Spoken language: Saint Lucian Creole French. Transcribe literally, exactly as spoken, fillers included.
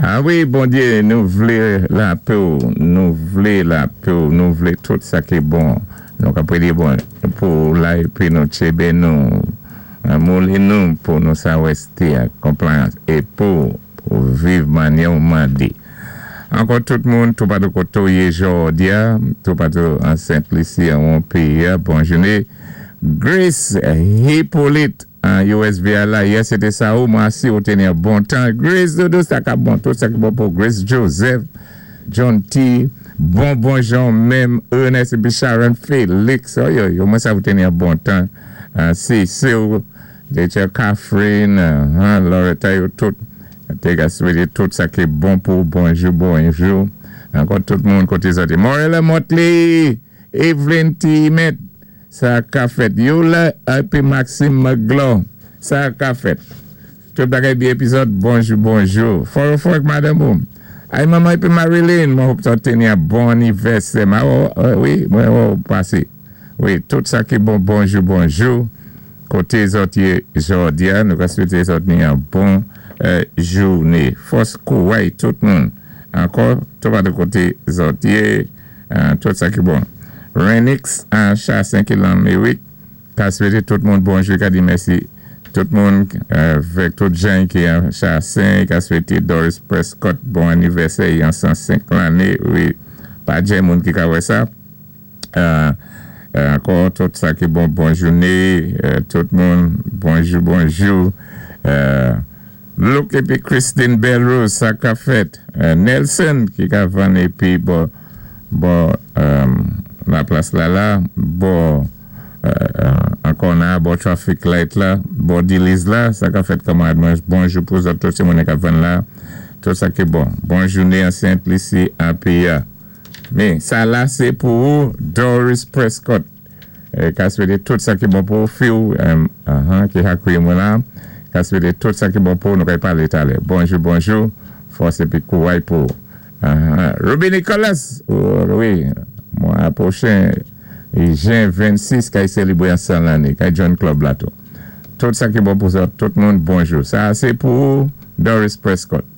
A wi, Bondyé, nou vlé lapè, nou vlé lapè, nou vlé tout sa ki bon. Nou ka pwédyé bon pou la épi nou tjébé nou, mouli nou pou nou sa wésté an compliance é pou pou viv mannyè ou mandé. Ankò tout moun, toupatou koté ou yé jòdi-a, toupatou an Sent Lisi, an péyi, bon jouné. Grace Hippolyte an U S V A la, yè sé té sa ou, mwen si ou té ni yon bon tan. Grace Dodo, sa ka bon, tout sa ki bon pou Grace Joseph, John T, bon bon Jean menm, Ernest épi Sharon Felix, oh yo, yo, mwen sa ou té ni yon bon tan. Si, Sue, Rachel Catherine, Loretta, yo tout, té ka swété tout sa ki bon pou bonjou, bonjou. Ankò tout moun koté sa té. Morella Motley, Evelyn T. Met, sa ka fèt. Yola épi Maxime McGlaw, sa ka fèt. Tout bagay byen épi zòt, bonjou, bonjou. Foro fòk madame ou. Ay manman épi Marilyn, mwen hope sa té ni yon bon anivèsè. Ma, oh, oh, wi, mwen oh, pasé. Wi, tout sa ki bon, bonjou, bonjou. Koté zòt yé jòdi-a, nou ka swété zòt ni yon bon euh, jouné. Fòs kouway tout moun. Ankò, toupatou koté zòt yé, euh, tout sa ki bon. Renix an Chassin ki lan Mewick, ka swété tout moun bonjou, ka di mèsi. Tout moun, avèk tout jan ki an Chassin, ka swété Doris Prescott bon anivèsè, yon san senk lanné, wi, pa gen moun ki ka wè sa. Euh, ankò, tout sa ki bon, bon jouné, tout moun, bonjou, bonjou. Luke épi Christine Belrose, sa ka fèt. Nelson ki ka vann épi bò, bò, la plas la la, bò, ankò na, bò traffic light la, bò Diliz la, sa ka fèt, kanmarad mwen, bonjou pou zòt, tout sé moun ka vann la, tout sa ki bon. Bon jouné an Sent Lisi an péyi-a. Men, sa la sé pou ou, Doris Prescott. Ka swété tout sa ki bon pou fi ou, ki hakouye mwen la, ka swété tout sa ki bon pou nou kay pale talè. Bonjou, bonjou, fòs épi kouway pou. Ruby Nicholas, wi, mwa pwochen, jen vennsis, kay sélébwé an san lanné, kay join club la tou. Tout sa ki bon pou sa, tout moun, bonjou. Sa sé pou Doris Prescott.